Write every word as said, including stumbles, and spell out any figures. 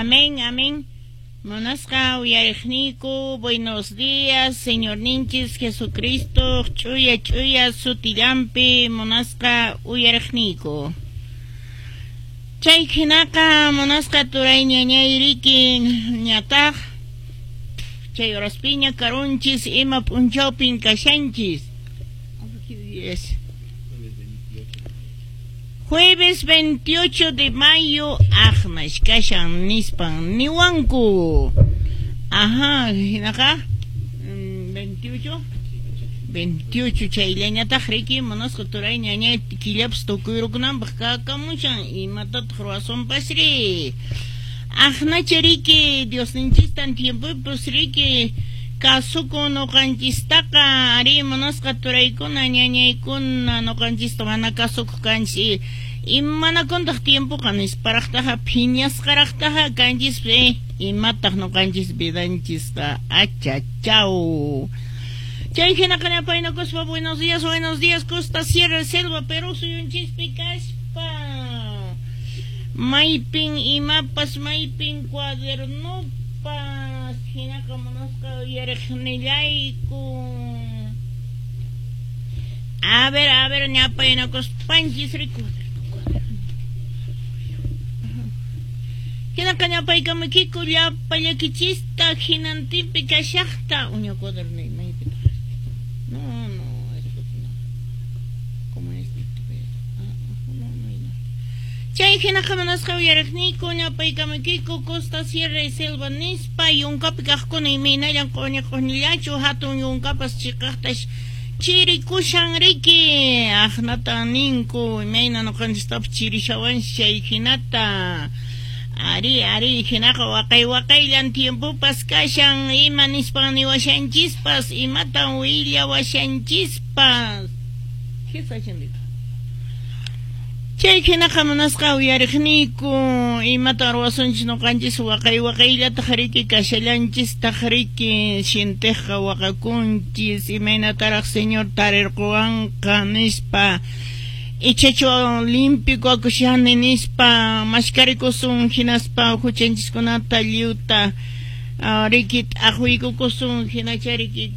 Amén, amén. Munasqa uyariqniyku, buenos días, Señorninchis Jesucristo, ch'uya ch'uya sutillanpi munasqa uyariqniyku. Chay hinaqa munasqa turay ñañayriki ñataq chay horaspiña karunchis ima p'unchawpin kashanchis. ¿Qué? Jueves veintiocho de mayo, aqnash kashan nispan niwanku. Ajá, hinaqa veintiocho veintiocho chayllañataq riki munasqa turay ñañay killapas tukuyrukunanpaq kakamushan imatataq ruwasunpasri. Aqnacha riki Diosninchistan tiempopipas riki kasukun nuqanchistaqa ari munasqa turaykuna ñañaykuna nuqanchista mana kasukuq kanchis imanakuntaq tiempoqa nisparaqtaqa phiñasqaraqtaqa kanchis imataq nuqanchis vidanchisqa achachaw. Chay hinaqa ñapaynakuspa buenos días, buenos días, Costa Sierra Selva Perú suyunchispi kaspa maypin imapas maypin cuadernopas hinaqa munasqa uyariqnillayku. A ver, a ver, ñapaynakuspanchis riku. Hinaqa ñapaykamaykiku llapa llakichista hinantinpi kashaqta uña cuaderno maypitaq. No, no, esto no. ¿Cómo es? No, no, no. Chay hinaqa munasqa uyariqniyku ñapaykamaykiku Costa Sierra y Selva nispa yunkapi kaqkuna imaynallan q'uñi q'uñillachu hatun yunkapas chiqaqtash chirikushan riki aqnatan ninku imayna nuqanchistapas chirishawanchis chay hinata. Ari, ari, hinaqa waqay waqayllan tiempopas kashan ima nispan niwashanchispas imatan willawashanchispas. Chay hinaqa munasqa uyariqniyku imatan ruwasunchis nuqanchis waqay waqayllataq riki kashallanchistaq riki sintiqqa waqakunchis imaynataraq Señor tarirquwanqa nispa ichachu limpio akushani nispa mashkarikusun hinaspa huchanchiskunata lliwta riki t'aqwiykukusun hinacha riki.